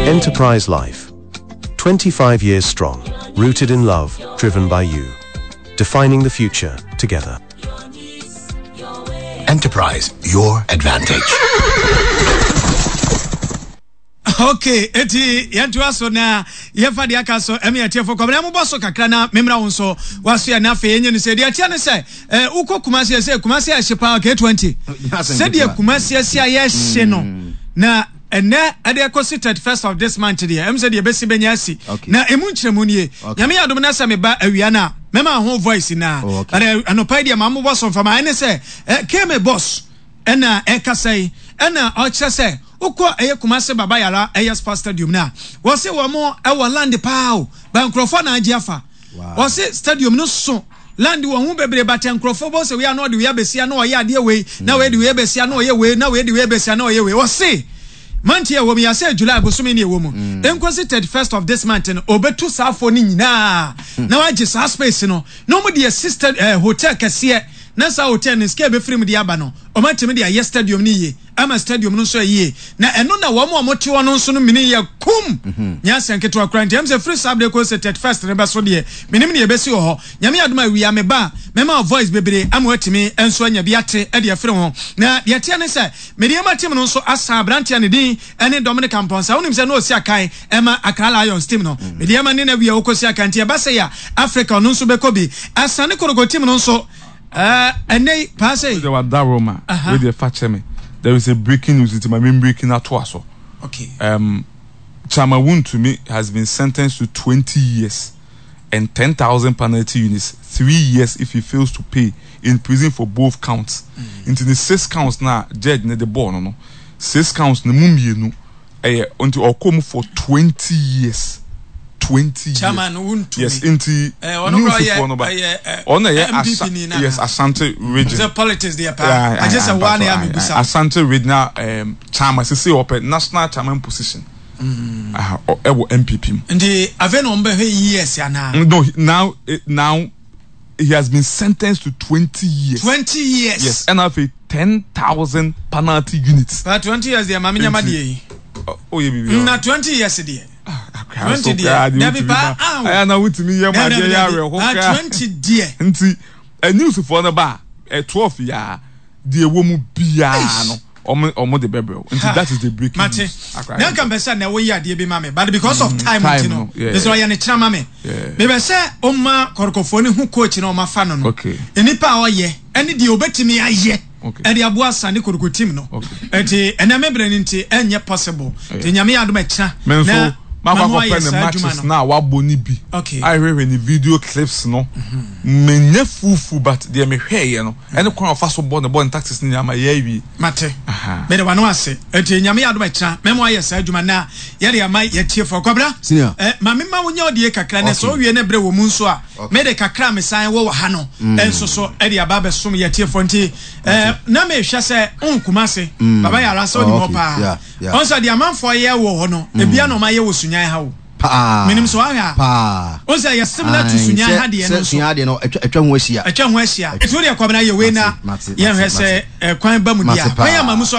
Enterprise Life. 25 years strong, rooted in love, driven by you. Defining the future together. Enterprise, your advantage. Okay, eti yɛntoa so na yɛmfa deɛ aka so ɛme atiefo kɔmena mobɔ so kakra na memmra wo nso waso yɛ na afei ɛnyɛ no sɛ deɛ ɛteɛ ne sɛ eh, wokɔ Kumasi ɛsɛ Kumasi ɛhye paa K20 sɛdeɛ Kumasi asi a yɛhye no mm. na ɛnɛ ɛde ɛkɔsi 31st of this month deɛ ɛm sɛ deɛ ɛbɛsi bɛnya asi na ɛmu nkyerɛmu nie. Nyame yɛ adom na sɛ meba awia no a mɛma ho voice na oh, okay. anɔpa yi deɛ ma mobɔ so mfama ɛne sɛ eh, kme boss ɛna ɛkasa yi ɛna ɔkyerɛ sɛ wokɔ ɛyɛ Kumase Baba Yara ɛyɛ Sports Stadium no a wɔse wɔn ɛwɔ land paa o ba nkurɔfoɔ na agye afa. Wɔse stadium no so land wɔ ho bebree but nkurɔfoɔ bɔ sɛ wei a na ɔde wei abɛsia na ɔyɛ adeɛ wei na wei de wei abɛsia na ɔyɛ wei na wei de wei abɛsia na ɔyɛ wei. Wɔse month yi a ɛwɔ mu yi asɛ July bosome ne ɛwɔ mu nkosi 31st of this month no ɔbɛtu saa afoɔ no nyinaa na wagye saa space no na wɔn de asi eh, hotel kɛseɛ na saa hotel no sika ɛbɛfiri mu de aba no wɔn atumi de ayɛ stadium no yie ama stadium no nso ayie na ɛno na wɔn a wɔte hɔ no nso no mini yɛ kum mhm. nyɛ asɛn ketewa koraa nti ɛm sɛ firi saa berɛ kɔ sɛ 31st no bɛso deɛ menim ne yɛbɛsi wɔ hɔ. Nyame adom a awia meba a mɛma wo voice bebree ama watumi nso anya bi ate de afiri ho. Na deɛ ɛteɛ ne sɛ Medeama team no nso asan aberanteɛ a ne din ne Dominic Amponsah. Wonim sɛ na ɔsi akan ma Accra Lions team no. Medeama ne no awia ɔkɔsi akan nti ɛba sei a Africa ɔno nso bɛkɔ bi. Asane Kotoko team no nso ɛnnɛ yi paa sei. Wode wada Roma, wei deɛ fa kyɛ me. There is a breaking news nti ma me breaking atoa so. Okay. Chama Wuntumi has been sentenced to 20 years and 10,000 penalty units, 3 years if he fails to pay in prison for both counts. Nti ne six counts na judge ne de bɔɔ no, six counts ne mu mmienu ɛyɛ nti ɔkɔ mu for 20 years. 20 years. Chairman Wuntumi. Yes, nti ɔno news foɔ no ba. Ɔno ɛyɛ NPP ni na. Yes, Ashanti Region. Sɛ politics deɛ paa. Agye sɛ waa na yɛ amebusa. Ashanti Regional chairman sisi ɔpɛ national chairman position. Ɛwɔ NPP mu. Nti afei na wɔn bɛhwɛ years anaa? No, now he has been sentenced to 20 years. 20 years. Yes, ɛna afei 10,000 penalty units. Pa 20 years deɛ maame nyama deɛ yi. O yɛ bibi. Na 20 years deɛ. 20 deɛ. Dabi pa ah. Aya na wotumi yɛ ma deɛ yɛ awerɛho kra. 20 deɛ. Nti newsfoɔ no ba ɛ 12 yaa deɛ ɛwɔ mu biara no ɔmo de bɛbrɛw nti that is the breaking mate news. Na nka mpɛ sɛ na woyɛ adeɛ bi ma me but because of time nti no mesɛ ɔyɛ ne kyerɛ ma me mebɛ sɛ ɔma kɔrɔkɔfoɔ no hu coach na ɔma fa no nnipa a ɔyɛ ɛne deɛ ɔbɛtumi ayɛ ɛde aboa Asante Kotoko team no ɛnti ɛnɛ me berɛ no nti ɛnyɛ possible nti Nyame yɛ adom ɛkyena na makɔ akɔpɛ ne matches na wabɔ ne bi ahwehwɛ ne video clips no menyɛ fufu but deɛ mehwɛeɛ no ɛne kwan a ɔfa so bɔ ne bɔ ne tactics ne nyinaa ma yɛ awie. Mate. Mede w'ano ase. Enti Nyame yɛ adom a ɛkyena mɛma wayɛ saa adwuma na yɛde ama yɛtiefoɔ. Kwabena, Senior. eh, ma mema wo nyɛ ɔdeɛ kakra na sɛ Okay. wowie na berɛ wɔ mu nso a, Okay. mede kakra a mesan wɔ wɔ ha no nso so de aba abɛsom yɛtiefoɔ. Nti eh, na mehwɛ sɛ wohu Kumase, Baba Yara sɛ wonim Oh, hɔ okay. paa. Yeah, yeah. Ɔhu sɛ deɛ amanfoɔ yɛ wɔ hɔ no, ebia na wɔayɛ wɔ Sunyani ha o. Paa. Menim sɛ wahwɛ a. Paa. Wohu sɛ yɛ similar to Ae, Sunyani sɛ ha deɛ no sɛ nso. Sunyani deɛ no atwa atwa ho ahyia. Atwa ho ahyia. Nti wo deɛ Kwabena yɛ wei na Mate, mate, yɛnhwɛ mate, sɛ eh, kwan ba mu deɛ mate a. Kwan ama mu paa. so.